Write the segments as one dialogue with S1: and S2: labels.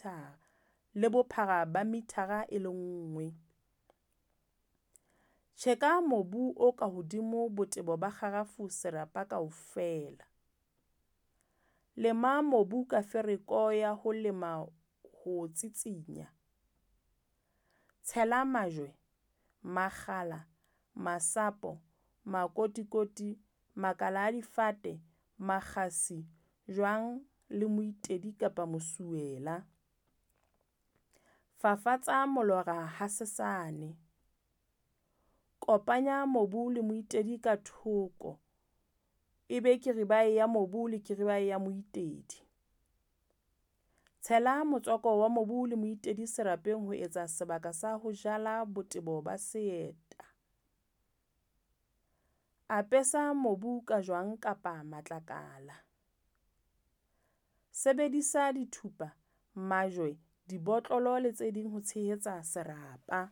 S1: mithara le bophara ba mithara e le nngwe. Tjheka mobu o ka hodimo botebo ba kgarafu serapa kaofela. Lema mobu ka fereko ya ho lema ho o tsitsinya. Tshela majwe, makgala, masapo, makotikoti, makala a difate, makgasi, jwang le moitedi kapa mosuwela. Fafatsa molora hasesaane. Kopanya mobu le moitedi ka thoko, e be kiribae ya mobu le kiribae ya moitedi. Tshela motswako wa mobu le moitedi serapeng ho etsa sebaka sa ho jala botebo ba seeta. Apesa mobu ka jwang kapa matlakala. Sebedisa dithupa, majwe, dibotlolo le tse ding ho tshehetsa serapa.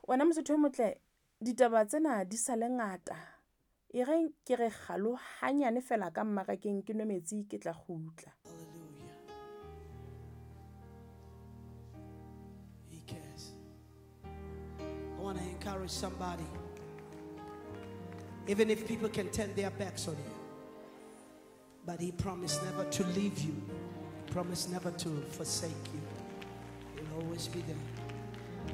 S1: Wena Mosotho o motle, ditaba tsena di sa le ngata. E reng ke re kgalo hanyane fela ka mmarakeng ke nwe metsi ke tla kgutla.
S2: Hallelujah. He cares. I want to encourage somebody. Even if people can turn their backs on you, but he promised never to leave you, promised never to forsake you. He'll always be there.